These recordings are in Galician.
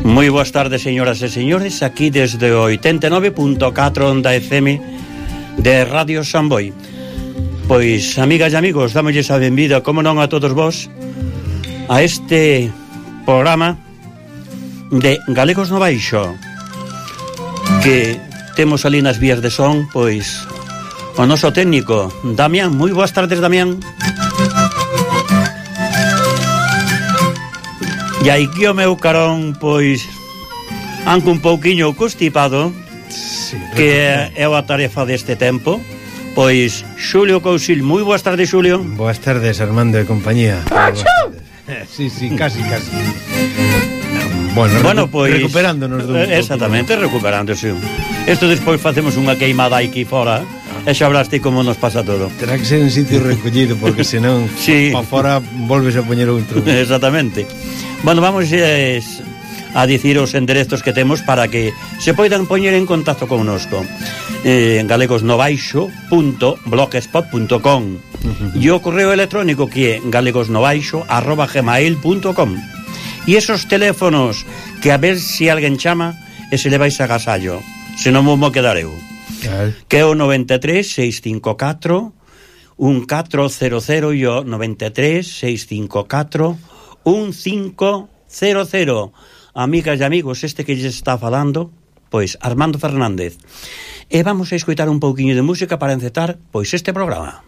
Moi boas tardes, señoras e señores, aquí desde o 89.4 onda FM de Radio Samboy. Pois, amigas e amigos, dámosles a benvida, como non, a todos vos a este programa de Galegos no Baixo, que temos ali nas vías de son, pois, o noso técnico Damián. Moi boas tardes, Damián. E aquí o meu carón, pois, anco un pouquiño constipado, sí, que é a tarefa deste tempo. Pois, Xulio Cousil. Moi boas tardes, Xulio. Boas tardes, Armando e compañía. Sí, casi. Bueno, pois, recuperándonos dun exactamente, recuperándose. Isto despois facemos unha queimada aquí fora, e xa hablaste como nos pasa todo. Terá que ser en sitio recollido, porque senón sí, pa fora volves a poñer outro. Exactamente. Bueno, vamos a dicir os enderezos que temos para que se poidan poñer en contacto connosco. galegosnobaixo.blogspot.com e o correo electrónico que é galegosnobaixo@gmail.com. E esos teléfonos que a ver se alguén chama e se le vais a agasallo, se non mo quedar eu, que é o 93 654 1400 e o 93 654 1500. Amigas e amigos, este que lles está falando, pois, Armando Fernández. E vamos a escoitar un pouquiño de música para encetar, pois, este programa.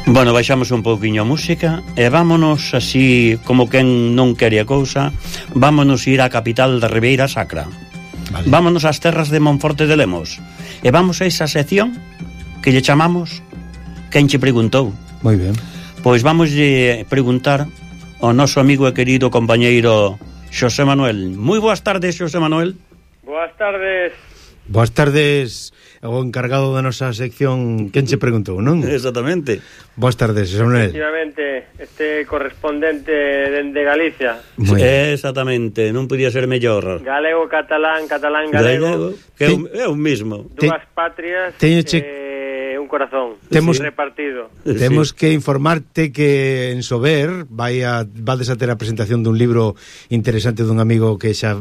Bueno, baixamos un pouquiño a música e vámonos así como quen non quere a cousa, vámonos ir á capital da Ribeira Sacra. Vale. Vámonos ás terras de Monforte de Lemos e vamos a esa sección que lle chamamos Quen che preguntou. Moi ben. Pois vamos preguntar ao noso amigo e querido compañeiro Xosé Manuel. Moi boas tardes, Xosé Manuel. Boas tardes. Boas tardes, o encargado da nosa sección Quen che preguntou, non? Exactamente. Boas tardes, Xosé Manuel. Efectivamente, este correspondente de Galicia. Exactamente, non podía ser mellor. Galego, catalán, galego. Que é o mismo. Dúas patrias, un corazón repartido. Temos que informarte que en Sober vades a ter a presentación dun libro interesante dun amigo que xa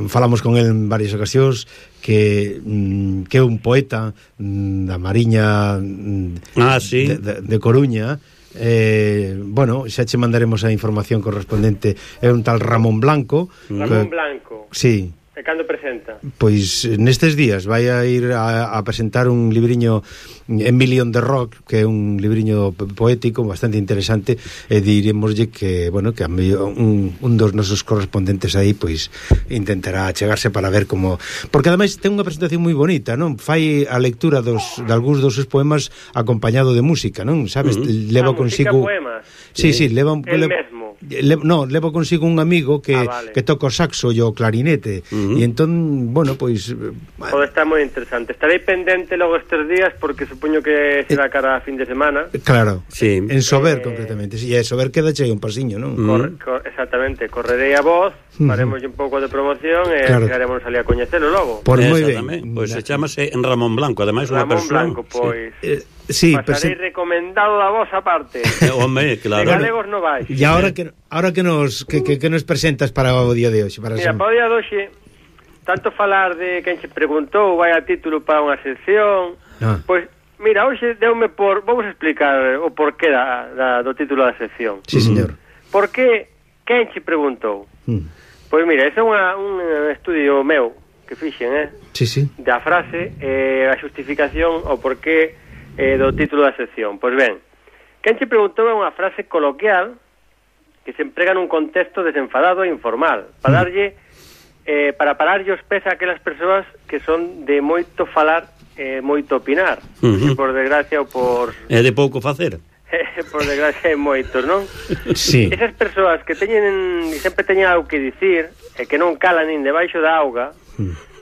falamos con el en varias ocasións, que é un poeta da Mariña de Coruña. Bueno, xa che mandaremos a información correspondente. É un tal Ramón Blanco. Blanco. Sí. E cando presenta? Pois nestes días vai a ir a presentar un libriño En Million de Rock, que é un libriño poético bastante interesante, e diremoslle que, bueno, que un dos nosos correspondentes aí pois intentará chegarse para ver como, porque ademais ten unha presentación moi bonita, non? Fai a lectura de algúns dos seus poemas acompañado de música, non? Sabes, leva consigo poemas. Sí, leva mesmo. Leva consigo un amigo que toca o saxo e o clarinete. E entón, bueno, pois pode estar moi interesante. Estarei pendente logo estes días porque supoño que será cara a fin de semana. Claro, sí. En Sober concretamente. E en Sober queda chei un pasiño, non? Exactamente, correrei a voz, faremos un pouco de promoción e chegaremos ali a coñecelo logo. Por moi ben. Pois se chamase en Ramón Blanco, ademais unha persoa. Ramón Blanco, pois sí, pasarei recomendado da vosa parte. Home, claro. De galegos non vais. E ahora que nos presentas para o día de hoxe? Mira, para o día de hoxe, tanto falar de quen che preguntou, vai a título para unha sección. Pois, mira, hoxe deume vamos a explicar o porqué do título da sección. Sí, señor. Por que quen che preguntou? Pois mira, ese é un estudio meu que fixen, Sí. da frase, a xustificación o porqué do título da sección. Pois ben, quen che preguntou é unha frase coloquial que se emprega nun contexto desenfadado e informal para darlle para pararlle os pés a aquelas persoas que son de moito falar e moito opinar, que por desgracia ou por de pouco facer. Por desgracia hai moitos, non? Sí. Esas persoas que sempre teñen algo que dicir e que non calan nin debaixo da auga,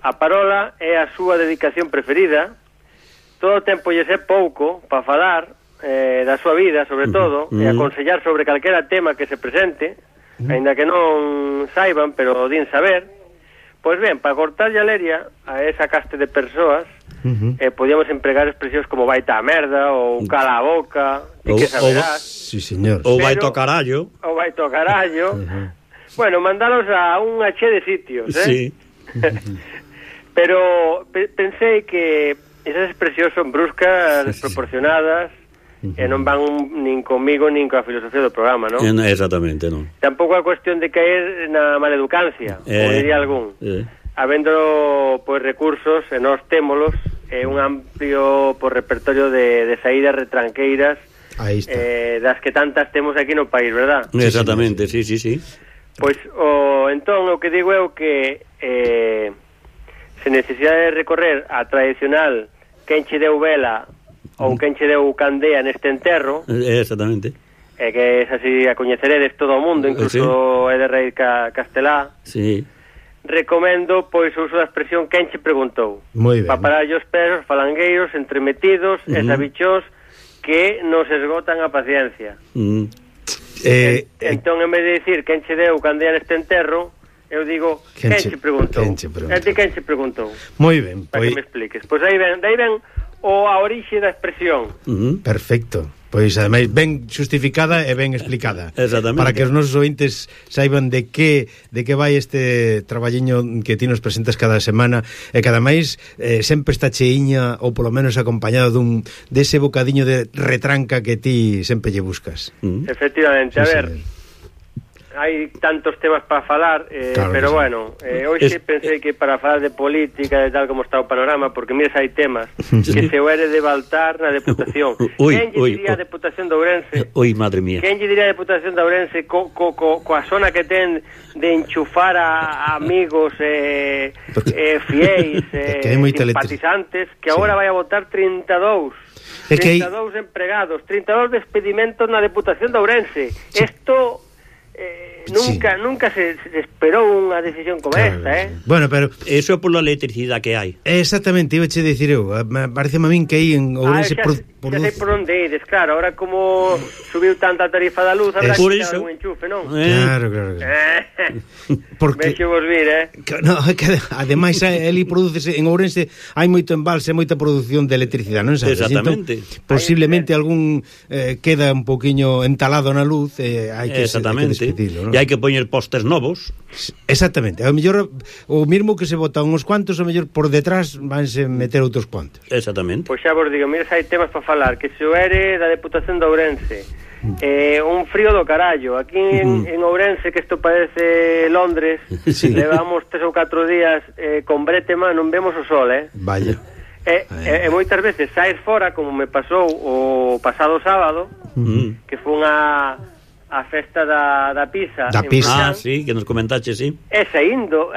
a parola é a súa dedicación preferida, todo o tempo lle é pouco para falar da súa vida, sobre todo, e aconsellar sobre calquera tema que se presente, aínda que non saiban, pero din saber. Pois ben, para cortar a leria a esa caste de persoas, podíamos empregar expresións como vaita a merda, ou cala a boca, e que saberás. Sí, señor. Ou vai to carallo. Ou vai to carallo. Bueno, mandalos a unha che de sitios, Sí. Pero pensei que esas expresións son bruscas, desproporcionadas, e non van nin comigo nin coa filosofía do programa, non? Exactamente, non. Tampouco é cuestión de caer na maleducancia, como diría algún. Habendo pois recursos, e nós témolos, un amplio repertorio de saídas retranqueiras, das que tantas temos aquí no país, verdad? Exactamente, sí. Pois entón o que digo é o que se necesita de recorrer a tradicional quen che deu vela ou quen che deu candea neste enterro. Exactamente. Que es así a coñeceredes todo o mundo, incluso é de raíz castelá. Sí. Recomendo pois o uso da expresión quen che preguntou. Moi ben. Para parar os pesos falangueiros, entremetidos e sabichós que nos esgotan a paciencia. Entón, en vez de dicir quen che deu candea neste enterro, eu digo quen che preguntou. Quen che preguntou. Moi ben. Para que me expliques. Pois aí ven a orixe da expresión. Perfecto. Pois ademais ben justificada e ben explicada. Exactamente. Para que os nosos ointes saiban de que vai este traballiño que ti nos presentas cada semana, e que ademais sempre está cheiña, ou polo menos acompañado dese bocadiño de retranca que ti sempre lle buscas. Efectivamente, a ver. hai tantos temas para falar, Claro pero que sí. bueno, hoxe pensei que para falar de política e tal como está o panorama, porque mires hai temas que se o ere de Baltar na Deputación. Quen lle diría a Deputación de Ourense? Oi, madre mía. Quen lle diría a Deputación de Ourense coa zona que ten de enchufar a amigos fiéis, que hai moita simpatizantes, que agora vai a votar 32 empregados, 32 despedimentos na Deputación de Ourense. Isto nunca se esperou unha decisión como esta, Bueno, pero eso é pola electricidade que hai. exactamente, iba a dicir eu, parece a min que aí en Ourense xa sei por onde ides, claro, ahora como subiu tanta tarifa da luz, habrá por que iso. dar un enchufe, non? Claro. Porque Vexo vos vir, no, que ademais ali producese en Ourense hai moito embalse, moita produción de electricidade, non sabes? Exactamente. Entón, posiblemente algún queda un poquinho entalado na luz, hai que despedilo, non? E hai que poñer postes novos. Exactamente. A mellor o mismo que se botan uns cuantos, a mellor por detrás vanse meter outros cuantos. Exactamente. Pois xa vos digo, mira, hai temas para falar, que se o ere da Deputación de Ourense, un frío do carallo. Aquí en Ourense, que isto parece Londres, levamos 3 ou 4 días con bretema, non vemos o sol, Vaya. E moitas veces saes fora, como me pasou o pasado sábado, que foi a festa da pizza. Da pizza. Sí, que nos comentache, sí. E saindo,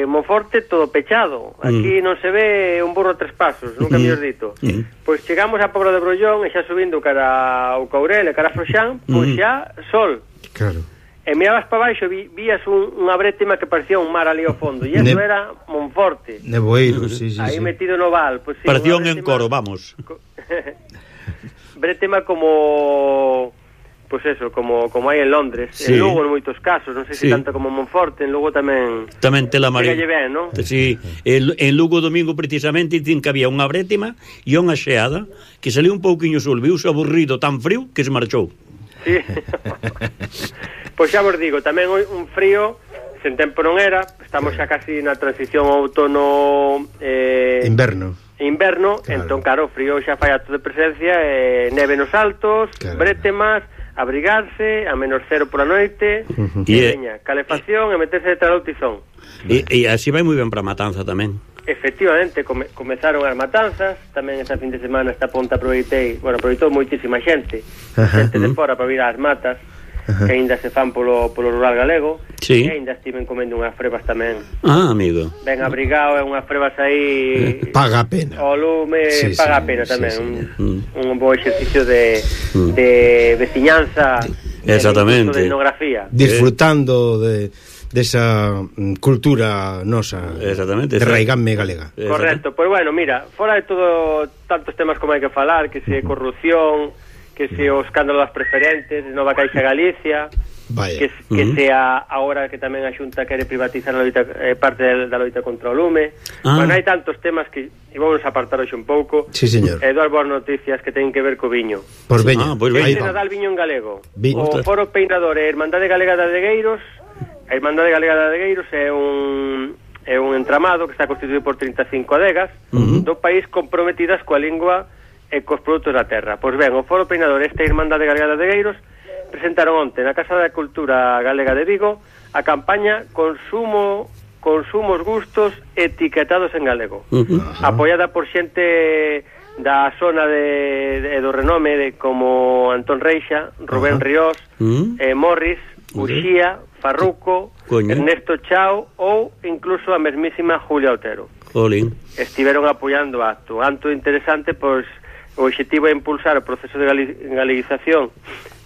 Monforte todo pechado. Aquí non se ve un burro a 3 pasos, nunca mellor dito. Pois chegamos a Pobra de Brollón e xa subindo cara ao Caurel e cara a Froxán, pois xa sol. Claro. E mirabas para baixo, vías unha brétima que parecía un mar ali ao fondo, e eso era Monforte. Neboeiro, sí. Aí metido no val. Pois, sí, Parecía un encoro, vamos. Brétima como... Pois eso, como hai en Londres, Sí. en Lugo en moitos casos, non sei se Sí. tanto como en Monforte, en Lugo tamén Tela María. chegalle ben, non? Sí, en Lugo domingo precisamente dicen que había unha brétima e unha xeada que saliu un pouquiño sol, viuse aburrido tan frío que se marchou. Sí. Pois xa vos digo, tamén un frío, sen tempo non era, estamos xa casi na transición outono Inverno. claro. Entón claro, o frío xa fai acto de presencia, neve nos altos, brétemas, abrigarse a -0 pola noite, e veña, calefacción e meterse detrás do tizón. E así vai moi ben para a matanza tamén. Efectivamente, comezaron as matanzas, tamén esta fin de semana esta ponta aproveitou moitísima xente de fora para vir ás matas, que aínda se fan polo rural galego, Sí. e aínda estiven comendo unhas frebas tamén. Amigo. Ben abrigado, e unhas frebas aí Paga a pena. o lume, paga a pena tamén. Un bo exercicio de veciñanza, Exactamente. de etnografía. Disfrutando desa cultura nosa. Exactamente. De raigame galega. Correcto, pois bueno, mira, fora de todo tantos temas como hai que falar, que se corrupción, que se o escándalo das preferentes, Nova Caixa Galicia, Vaya. que sea agora que tamén a Xunta quere privatizar a loita, parte da loita contra o lume. Bueno, hai tantos temas que vamos a apartar hoxe un pouco. Sí, señor. Dúas boas noticias que teñen que ver co viño. Pois veña. Pois veña. Aí Este va. Nadal viño en galego. Vi- O Foro Peinador e Hermandade Galega de Adegueiros. A Hermandade Galega de Adegueiros é un entramado que está constituído por 35 adegas do país comprometidas coa lingua e cos produtos da terra. Pois ben, o Foro Peinador e esta Hermandade Galega de Adegueiros presentaron onte na Casa da Cultura Galega de Vigo a campaña Consumos Gustos Etiquetados en Galego, apoiada por xente da zona do renome como Antón Reixa, Rubén Ríos, Morris, Uxía, Farruco, Ernesto Chao ou incluso a mesmísima Julia Otero. Olín. Estiveron apoiando o acto interesante, pois o objetivo é impulsar o proceso de galeguización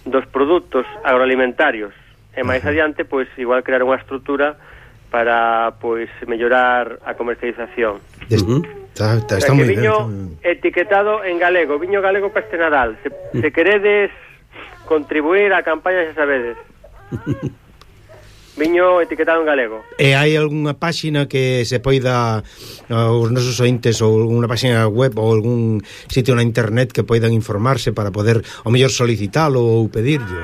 dos produtos agroalimentarios e máis adiante, pois igual crear unha estrutura para pois mellorar a comercialización. Está moi ben. Viño etiquetado en galego, viño galego para este Nadal. Se queredes contribuir á campaña, xa sabedes. Viño etiquetado en galego. E hai algunha páxina que se poida os nosos ointes, ou alguna páxina web ou algún sitio na internet que poidan informarse para poder ao mellor solicitalo ou pedirlo?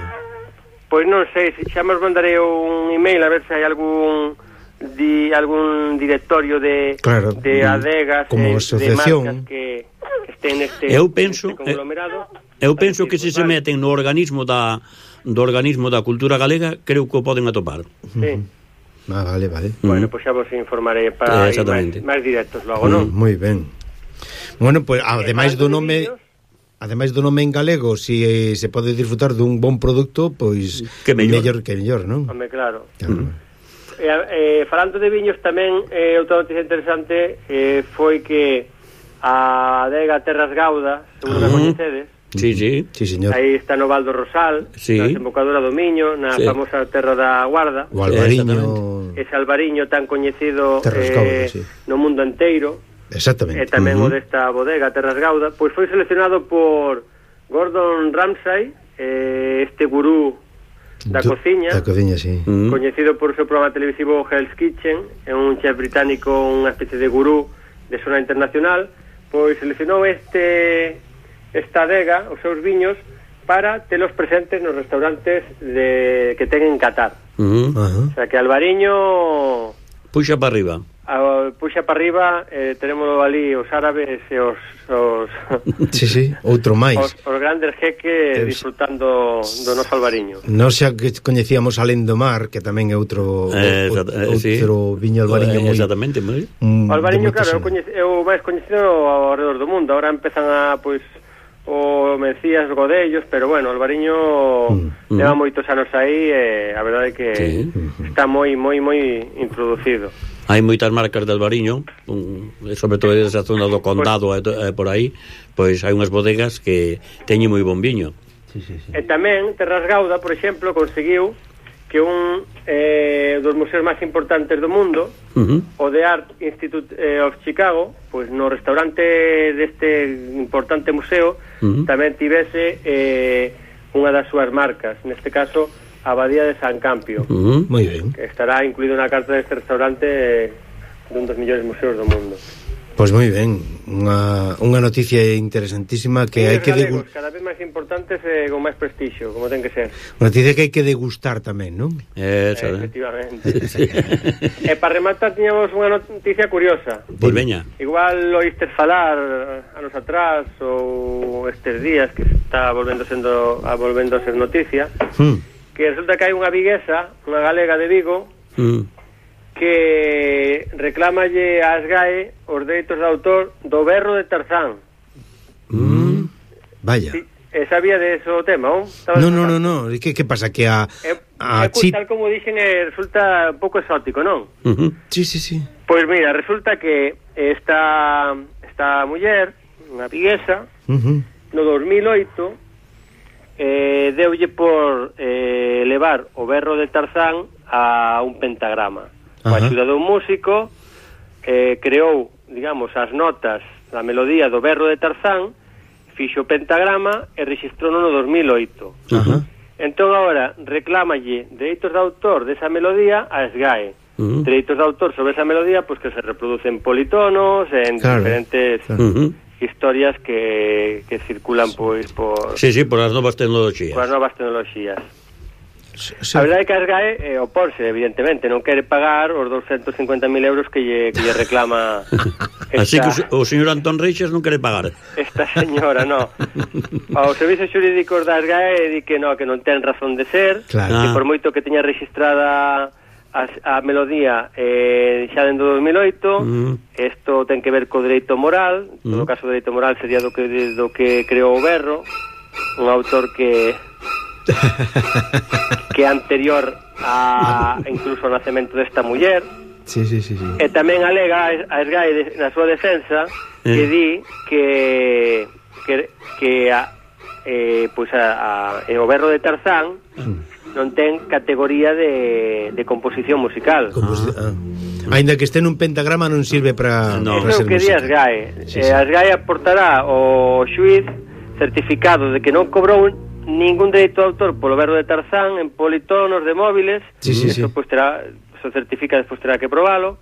Pois non sei, xa nos mandarei un email a ver se hai algún algún directorio de adegas, como asociación, de marcas que estén neste conglomerado. Eu penso que se meten no organismo da cultura galega, creo que o poden atopar. Sí. Vale. Bueno, pois xa vos informarei para máis directos logo, non? Moi ben. Bueno, pues ademais do nome en galego, si se pode disfrutar dun bon produto, pois que mellor, non? Home, claro. Falando de viños tamén, outra noticia interesante foi que a adega Terras Gauda, seguro que coñecedes. Sí, señor. Aí está no Val do Rosal, na desembocadura do Miño, na famosa terra da Guarda. O Albariño. Ese Albariño tan coñecido no mundo enteiro. Exactamente. E tamén o desta bodega Terras Gauda, pois foi seleccionado por Gordon Ramsay, este gurú da cociña, sí. Coñecido por o seu programa televisivo Hell's Kitchen, é un chef británico, unha especie de gurú de zona internacional, pois seleccionou esta adega, os seus viños, para telos presentes nos restaurantes que ten en Qatar. O sea, que Albariño puxa para arriba. Tenemos ali os árabes e os outro máis. Os grandes jeques disfrutando do noso Albariño. Non xa que coñecíamos Alén do Mar, que tamén é outro viño Albariño moi. Exactamente, moi. O Albariño, claro, é o máis coñecido ao redor do mundo. Ahora empezan a, o Mencías, Godellos, pero bueno, Albariño leva moitos anos aí e a verdade é que está moi introducido. Hai moitas marcas de Albariño, sobre todo esa zona do Condado por aí, pois hai unhas bodegas que teñen moi bon viño. E tamén Terras Gauda, por exemplo, conseguiu que un dos museos máis importantes do mundo, o The Art Institute of Chicago, pois no restaurante deste importante museo tamén tivese unha das súas marcas, neste caso a Abadía de San Campio. Moi ben. Que estará incluído na carta deste restaurante dun dos millores museos do mundo. Pois moi ben, unha noticia interesantísima que hai que degustar, cada vez máis importantes e con máis prestixio, como ten que ser. Unha noticia que hai que degustar tamén, non? Efectivamente. E para rematar tiñamos unha noticia curiosa. Pois veña. Igual oístes falar anos atrás ou estes días que está volvendo a ser noticia, que resulta que hai unha viguesa, unha galega de Vigo, que reclámalle a SGAE os dereitos de autor do berro de Tarzán. Vaya. Sí, sabía de eso o tema, non? No. Que pasa? Que a tal como dixen, resulta un pouco exótico, non? Sí. Pois mira, resulta que esta muller, unha viguesa, no 2008 deulle por levar o berro de Tarzán a un pentagrama. Coa axuda dun músico, creou, digamos, as notas da melodía do berro de Tarzán, fixo o pentagrama e rexistrou no 2008. Entón agora reclámalle dereitos de autor desa melodía a SGAE. Dereitos de autor sobre esa melodía, pois que se reproducen politonos en diferentes historias que circulan pois por... Sí, por as novas tecnologías. A verdade é que a SGAE opónse, evidentemente, non quere pagar os 250.000 euros que lle reclama así que o señor Antón Reixas non quere pagar esta señora, no. Os servizos xurídicos da SGAE di que non ten razón de ser, que por moito que teña registrada a melodía xa dentro do 2008, isto ten que ver co dereito moral. En todo caso, o dereito moral sería do que creou o berro, un autor que anterior a incluso ao nacemento desta muller. Sí. E tamén alega a SGAE na súa defensa que di que o berro de Tarzán non ten categoría de composición musical. Aínda que este nun pentagrama non sirve para ser música. Iso que di a SGAE. A SGAE aportará ao xuíz certificado de que non cobrou ningún dereito de autor polo berro de Tarzán en politonos de móviles. Eso certifica, despois terá que probalo.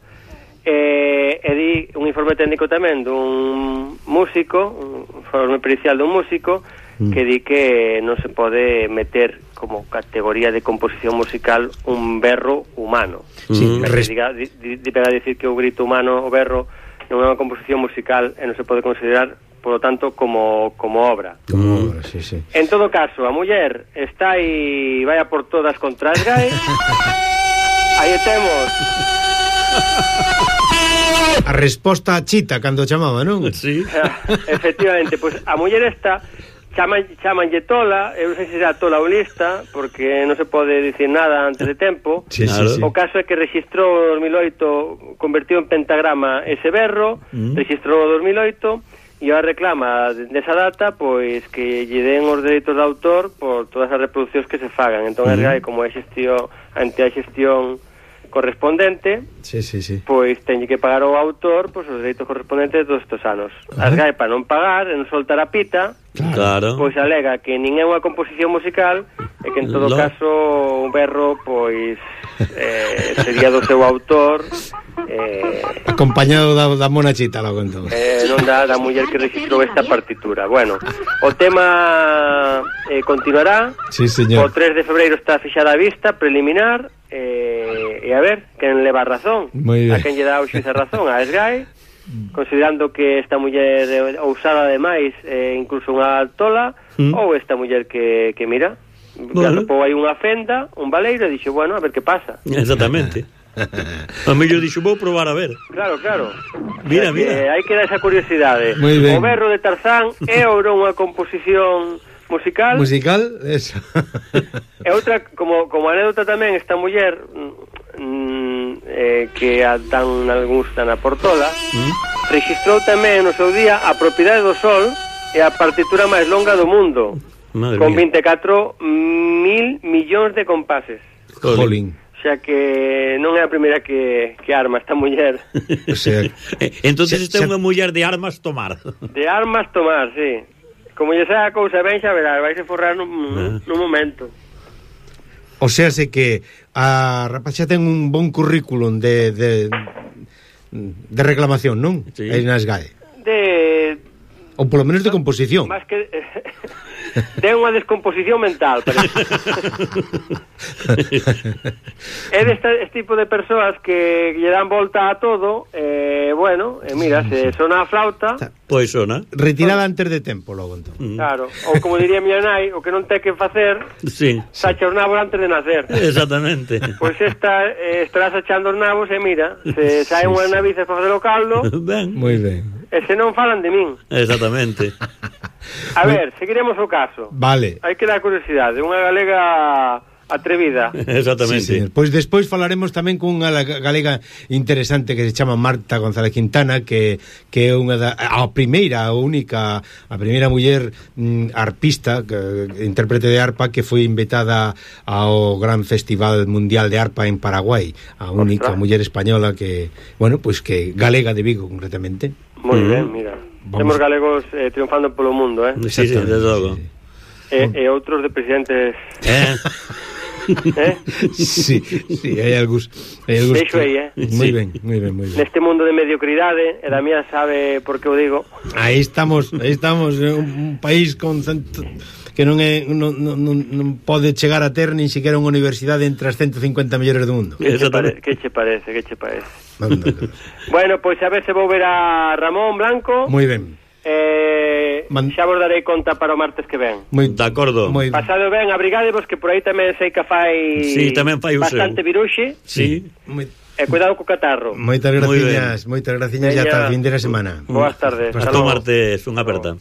E di un informe técnico tamén dun músico, un informe pericial dun músico, que di que non se pode meter como categoría de composición musical un berro humano. Diga a decir que o grito humano, o berro, non é unha composición musical e non se pode considerar, por lo tanto, como obra. Como obra, sí. En todo caso, a muller está aí, vai a por todas contra as GAE. Aí temos a resposta a Chita cando chamaba, non? Sí. Efectivamente, pois a muller esta chamanlle tola, eu non sei se será tola ou lista, porque non se pode dicir nada antes de tempo. Sí. O caso é que registrou en 2008, convertiu en pentagrama ese berro, registrou en 2008, e a reclama desa data, pois que lle den os dereitos de autor por todas as reproduccións que se fagan. Entón, a RGAE, como é ante a xestión correspondente, sí. pois teñe que pagar ao autor pois os dereitos correspondentes todos estes anos. As GAE, para non pagar, non soltar a pita, claro, pois alega que nin é unha composición musical e que en todo caso un berro pois sería do seu autor, acompañado da mona Chita, logo entón. Non da muller que registrou esta partitura. Bueno, o tema continuará. Sí, señor. O 3 de febreiro está fixada a vista preliminar, e a ver quen leva razón, a quen lle dá o xuíz a razón, a SGAE, considerando que esta muller ousada demais, incluso unha tola, ou esta muller que mira, atopou aí unha fenda, un baleiro, e dixo, bueno, a ver que pasa. Exactamente. A mellor dixo, vou probar a ver. Claro. Mira. Hai que dar esa curiosidade. O berro de Tarzán é ou non unha composición musical, eso. E outra, como anécdota tamén, esta muller que a dan algúns tan a Portola, registrou tamén no seu día a propiedade do Sol e a partitura máis longa do mundo, con 24.000 millóns de compases. Jolín. Xa que non é a primeira que arma esta muller. O sea, entonces esta é unha muller de armas tomar. De armas tomar, sí. Como lle saia a cousa ben, xa verás, vais a forrar nun momento. O sea, sé que a rapaxa ten un bon currículum de reclamación, non? Sí. Aí nas GAE. Ou polo menos de composición. Más que ten unha descomposición mental, parece. É este tipo de persoas que lle dan volta a todo, mira, se sona a flauta, pois sona. Retirada antes de tempo, logo entón. Claro, ou como diría miña nai, o que non ten que facer, sacha os nabos antes de nacer. Exactamente. Pois esta estará sachando os nabos e mira, se saen unhas navices para facer o caldo, moi ben. E se non falan de min. Exactamente. A ver, seguiremos o caso. Vale. Hai que dar curiosidade, unha galega atrevida. Exactamente. Sí, pois despois falaremos tamén con unha galega interesante que se chama Marta González Quintana, que é unha a primeira muller arpista, intérprete de arpa, que foi invitada ao Gran Festival Mundial de Arpa en Paraguai, a única muller española que, pois que galega de Vigo concretamente. Moi ben, mira. Temos galegos triunfando polo mundo, Sí, desde logo. E outros de presidentes. Sí, hai algús. Deixo aí, Moi ben. Neste mundo de mediocridade, e da mía sabe por que o digo. Aí estamos, un país con que non pode chegar a ter nin siquiera unha universidade entre as 150 mellores do mundo. Que che parece? Bueno, pois a ver se vou ver a Ramón Blanco. Moi ben. Xa vos darei conta para o martes que ven. De acordo. Pasado ben, abrigádevos, que por aí tamén sei que fai bastante viruxe. Sí. E cuidado co catarro. Moitas graciñas, e ata a fin de semana. Boas tardes. Hasta o martes, unha aperta.